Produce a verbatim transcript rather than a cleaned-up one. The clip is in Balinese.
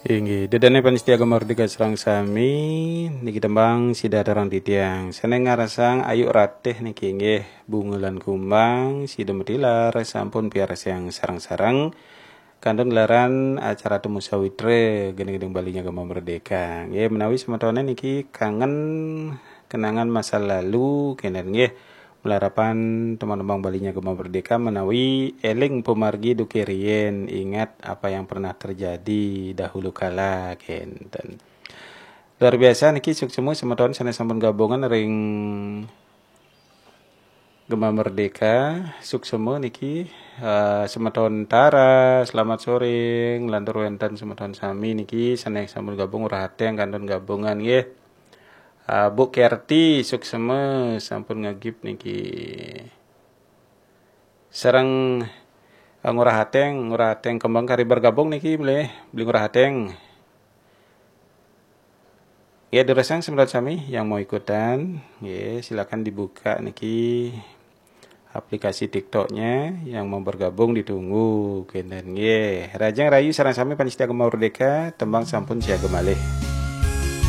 Inggih, ida dané pamiarsa Gema Merdeka sareng sami, niki tembang sida terang titiang. Sané ngarasang Ayu Ratih niki inggih Bunga lan Kumbang, sida matilar sampun piarsiang sareng-sareng. Kantun gelaran acara Temu Sawitra, gending-gending Bali nya Gema Merdeka. Nggih, menawi semetoné niki kangen kenangan masa lalu, kénten nggih. Malarapan tembang-tembang Bali nya Gema Merdeka menawi éling pamargi duké riyin, ingat apa yang pernah terjadi dahulu kala, kénten. Luar biasa niki, suksma semeton sané sampun gabungan ring Gema Merdeka, suksma niki. Eh, semeton Tara, selamat sore, nglantur wénten semeton sami niki sané sampun gabung, Ngurah Aténg kantun gabungan nggih. Eh, Bu Kerti, suksma sampun ngagib niki. Sareng, eh, Ngurah Aténg, Ngurah Aténg kembang kari bergabung niki, beli, beli Ngurah Aténg. Ya, durusang semeton sami yang mau ikutan, ya, silakan dibuka niki aplikasi TikToknya, yang mau bergabung ditunggu, kénten nggih. Rahajeng rahayu sareng sami pamiarsa Gema Merdeka, tembang sampun siaga malih.